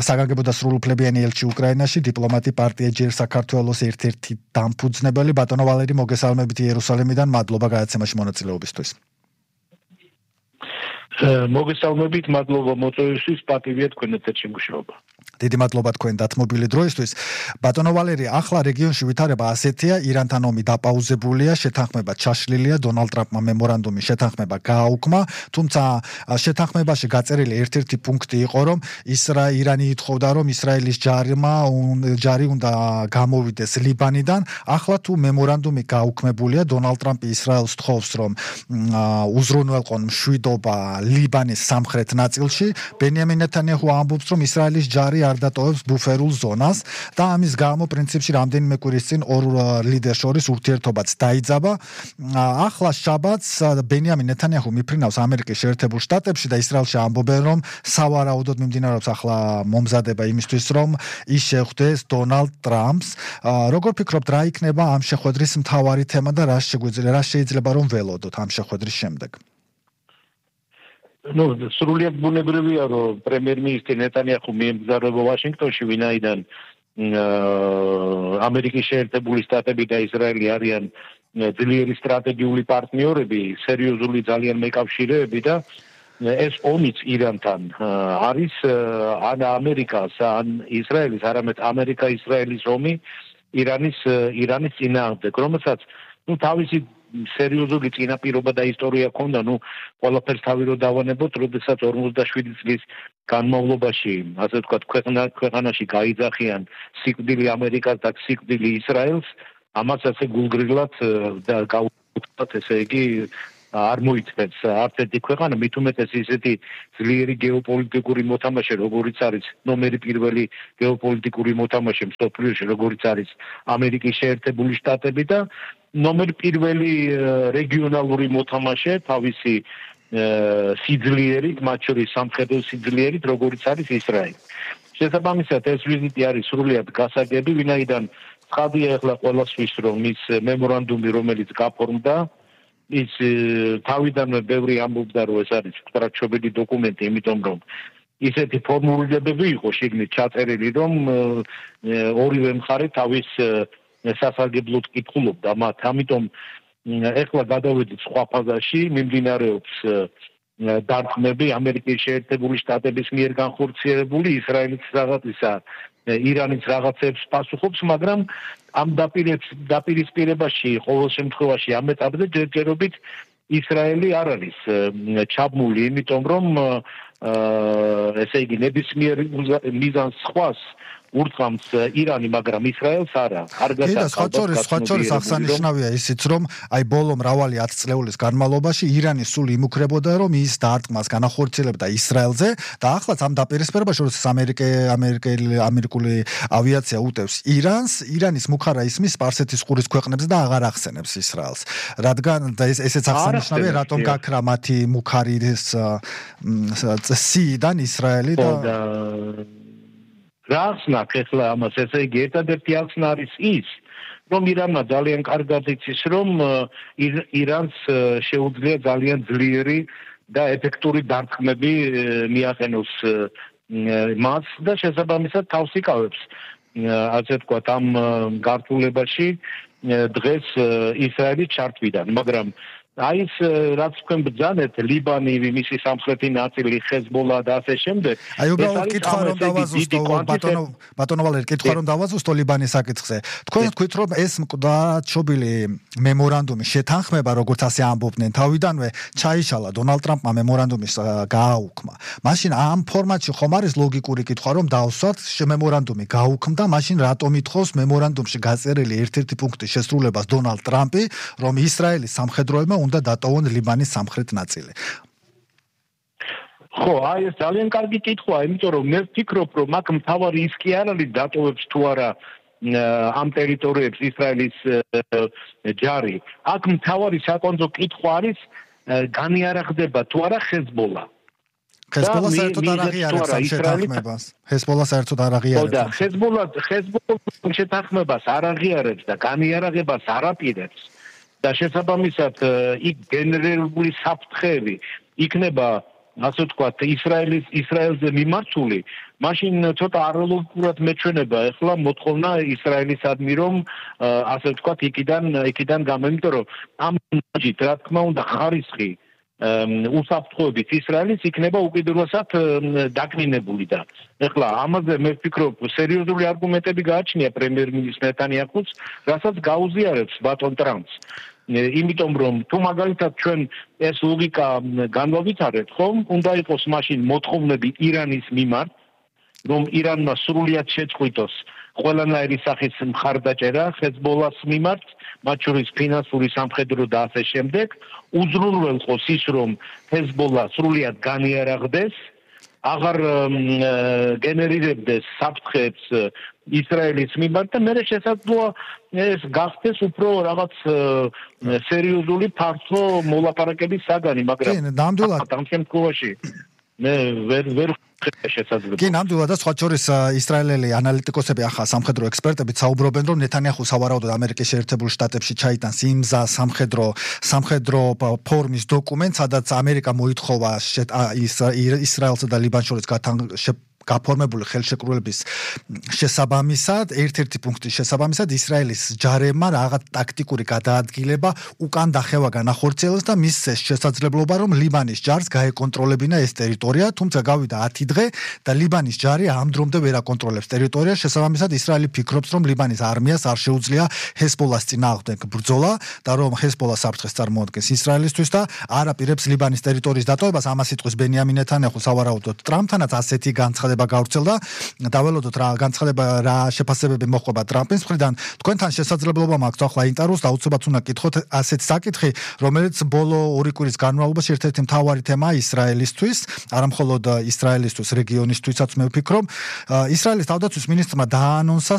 საგანგებო და სრულუფლებიანი ელჩი უკრაინაში, დიპლომატი პარტია ჯერ საქართველოს ერთ-ერთი დამფუძნებელი. ბატონო ვალერი, მოგესალმებით იერუსალიმიდან, მადლობა გადაცემაში მონაწილეობისთვის. მოგესალმებით, მადლობა მოწვევისთვის, პატივია თქვენ ეთერში მუშაობა. დიდი მადლობა თქვენ დათმობილი დროისთვის. ბატონო ვალერი, ახლა რეგიონში ვითარება ასეთია, ირანთან ომი დაპაუზებულია, შეთანხმება ჩაშლილია, დონალდ ტრამპმა მემორანდუმი შეთანხმება გააუქმა, თუმცა შეთანხმებაში გაწერილი ერთ-ერთი პუნქტი იყო, რომ ირანი ითხოვდა, რომ ისრაელის ჯარი უნდა გამოვიდეს ლიბანიდან. ახლა თუ მემორანდუმი გაუქმებულია, დონალდ ტრამპი ისრაელს თხოვს, რომ უზრუნველყონ მშვიდობა ლიბანის სამხრეთ ნაწილში. ბენიამინ ნეთანიაჰუ ამბობს, რომ ისრაელის ჯარი არ დატოვებს ბუფერულ ზონას და ამის გამო პრინციპში რამდენიმე კვირის წინ ორ ლიდერს შორის ურთიერთობაც დაიძაბა. ახლა შაბათს ბენიამინ ნეთანიაჰუ მიფრინავს ამერიკის შეერთებულ შტატებში და ისრაელში ამბობენ, რომ სავარაუდოდ მიმდინარეობს ახლა მომზადება იმისთვის, რომ ის შეხვდეს დონალდ ტრამპს. როგორ ფიქრობთ, რა იქნება ამ შეხვედრის მთავარი თემა და რა შეიძლება რომ ველოდოთ ამ შეხვედრის შემდეგ? სრულიად ბუნებრივია, რომ პრემიერ-მინისტრი ნეთანიაჰუ მიემგზავრება ვაშინგტონში, ვინაიდან ამერიკის შეერთებული შტატები და ისრაელი არიან ძლიერი სტრატეგიული პარტნიორები, სერიოზული ძალიან მეკავშირეები და ეს ომიც ირანთან არის ან ამერიკას, ან ისრაელის, არამედ ამერიკა-ისრაელის ომი ირანის წინააღმდეგ, რომელსაც თავისი სერიოზული წინაპირობა და ისტორია ქონდა, ყველაფერს თავი რო დავანებოთ, როდესაც 47 წლის განმავლობაში, ასე ვთქვათ, ქვეყანაში გაიძახიან სიკვდილი ამერიკას და სიკვდილი ისრაელს, ამას ასე გულგრილად და გაუკვირდათ, ესე იგი არ მოიწევს არც ერთი ქვეყანა, მით უმეტეს ისეთი ძლიერი გეოპოლიტიკური მოთამაშე, როგორიც არის ნომერი პირველი გეოპოლიტიკური მოთამაშე მსოფლიოში, როგორიც არის ამერიკის შეერთებული შტატები და ნომერი პირველი რეგიონალური მოთამაშე თავისი სიძლიერით, მათ შორის სამხედრო სიძლიერით, როგორიც არის ისრაელი. შესაბამისად, ეს ვიზიტი არის სრულიად გასაგები, ვინაიდან ცხადია ახლა ყველასთვის, რომ ის მემორანდუმი, რომელიც გაფორმდა, ის თავიდანვე ბევრი ამბობდა, რომ ეს არის სტრატეგიული დოკუმენტი, იმიტომ რომ ისეთი ფორმულირებები იყო შიგნით ჩაწერილი, რომ ორივე მხარე თავის სასარგებლოდ კითხულობდა მათ. ამიტომ ეხლა გადავედით სხვა ფაზაში, მიმდინარეობს დარტყმები ამერიკის შეერთებული შტატების მიერ განხორციელებული, ისრაელის რაღაცისა, ირანის რაღაცებს პასუხობს, მაგრამ ამ დაპირისპირებაში ყოველ შემთხვევაში ამ ეტაპზე ჯერჯერობით ისრაელი არ არის ჩაბმული, იმიტომ რომ ესე იგი ნებისმიერ მიზანს სხვას ურთმამს ირანი, მაგრამ ისრაელს არა. სხვა შორის აღსანიშნავია ისიც, რომ აი ბოლო მრავალი 10 წლეულის განმავლობაში ირანი სულ იმუქრებოდა, რომ ის დარტყმას განახორციელებდა ისრაელზე და ახლაც ამ დაპირისპირებაში, როდესაც ამერიკული ავიაცია უტევს ირანს, ირანის მუხარა ისმის სპარსეთის ყურის ქვეყნებს და აღარ ახსენებს ისრაელს. რადგან და ესეც აღსანიშნავია, რატომ გაქრა მათი მუხარის სიიდან ისრაელი და რა ახსნათ ახლა ამას, ესე იგი ერთადერთი ახსნა არის ის, რომ ირანმა ძალიან კარგად იცის, რომ ირანს შეუძლია ძალიან ძლიერი და ეფექტური დარტყმები მიაყენოს მას და შესაბამისად თავს იკავებს, ასე ვთქვათ, ამ გართულებაში დღეს ისრაელი ჩართვიდან, მაგრამ აი ეს რაც თქვენ ბრძანეთ, ლიბანი, მისი სამხრეთი ნაწილი, ხეზბოლა და ასე შემდეგ. აი უბრალოდ კითხვა რომ დავაზუსტო, ბატონო ვალერი, კითხვა რომ დავაზუსტო ლიბანის საკითხზე. თქვენ თქვით, რომ ეს მკვდრჩობილი მემორანდუმი შეთანხმება, როგორც ასე ამბობდნენ, თავიდანვე ჩაიშალა დონალდ ტრამპმა მემორანდუმის გააუქმა. მაშინ ამ ფორმატში ხომ არის ლოგიკური კითხვა, რომ დავსვათ მემორანდუმი გაუქმდა, მაშინ რატომ ითხოვს მემორანდუმში გაწერილი ერთ-ერთი პუნქტის შესრულებას დონალდ ტრამპი, რომ ისრაელის სამხედროებმა უნდა დატოვონ ლიბანის სამხრეთ ნაწილი. ხო, აი ეს ძალიან კარგი კითხვაა, იმიტომ რომ მე ვფიქრობ, რომ აქ მთავარი ის კი არ არის დატოვებს თუ არა ამ ტერიტორიებს ისრაელის ჯარი. აქ მთავარი საკონცო კითხვა არის განიარაღდება თუ არა ხეზბოლა. ხეზბოლა საერთოდ არ აღიარებს ამ შეთანხმებას. ხეზბოლა საერთოდ არ აღიარებს. და ხეზბოლა შეთანხმებას არ აღიარებს და განიარაღებას არ აპირებს. და შესაბამისად იქ გენერირებული საფრთხეები იქნება, ასე ვთქვათ, ისრაელზე მიმართული, მაშინ ცოტა არალოგიკურად მეჩვენება ახლა მოთხოვნა ისრაელისადმი, რომ ასე ვთქვათ, იქიდან გამომდინარე, რომ ამ ჯით, რა თქმა უნდა, ხარისხი უსაფრთხოებით ისრაელის იქნება უკიდურესად დაკნინებული და ახლა ამაზე მე ვფიქრობ, სერიოზული არგუმენტები გააჩნია პრემიერ-მინისტრ ნეტანიაჰუს, რასაც გაუზიარებს ბატონ ტრამპს. იმიტომ რომ თუ მაგალითად ჩვენ ეს ლოგიკა განვავითარებთ, ხომ, უნდა იყოს მაშინ მოთხოვნები ირანის მიმართ, რომ ირანმა სრულიად შეწყვიტოს ყველანაირი სახის მხარდაჭერა ხეზბოლას მიმართ, მათ შორის ფინანსური, სამხედრო და ასე შემდეგ, უზრუნველყოს ის, რომ ხეზბოლა სრულიად განიარაღდეს, აღარ გენერირებდეს საფრთხეებს ისრაელის მიმართ და მერე შესაძლოა ეს გახდეს უფრო რაღაც სერიოზული ფართო მოლაპარაკების საგანი, მაგრამ ამ შემთხვევაში მე ვერ შესაძლოა. კი, ნამდვილად და სხვა შორის ისრაელელი ანალიტიკოსები ახლა სამხედრო ექსპერტები საუბრობენ, რომ ნეთანიაჰუ სავარაუდოდ ამერიკის შეერთებულ შტატებში ჩაიტანს იმ სამხედრო ფორმის დოკუმენტს, სადაც ამერიკა მოითხოვა ისრაელსა და ლიბანს შორის გაფორმებული ხელშეკრულების შესაბამისად, ერთ-ერთი პუნქტის შესაბამისად ისრაელის ჯარებმა რაღაც ტაქტიკური გადაადგილება უკან დახევა განახორციელეს და მისცეს შესაძლებლობა, რომ ლიბანის ჯარს გაეკონტროლებინა ეს ტერიტორია, თუმცა გავიდა 10 დღე და ლიბანის ჯარი ამ დრომდე ვერ აკონტროლებს ტერიტორიას. შესაბამისად, ისრაელი ფიქრობს, რომ ლიბანის არმიას არ შეუძლია ჰეზბოლას წინააღმდეგ ბრძოლა და რომ ჰეზბოლა საფრთხეს წარმოადგენს ისრაელისთვის და არ აპირებს ლიბანის ტერიტორიის დატოვებას. ამას იტყვის ბენიამინ ნეთანიაჰუ სავარაუდოდ ტრამპთანაც ასეთი განცხადება გავრცელდა. დაველოდოთ რა განცხადება რა შეფასებები მოხვება ტრამპის მხრიდან. თქვენთან შესაძლებლობა მაქვს ახლა ინტერვიუს და უცებად უნდა გითხოთ ასეთ საკითხი, რომელიც ბოლო 2 კვირის განმავლობაში ერთ-ერთი მთავარი თემაა ისრაელისთვის, არა მხოლოდ ისრაელისთვის, რეგიონისთვისაც მე ვფიქრობ. ისრაელის თავდაცვის მინისტრმა დაანონსა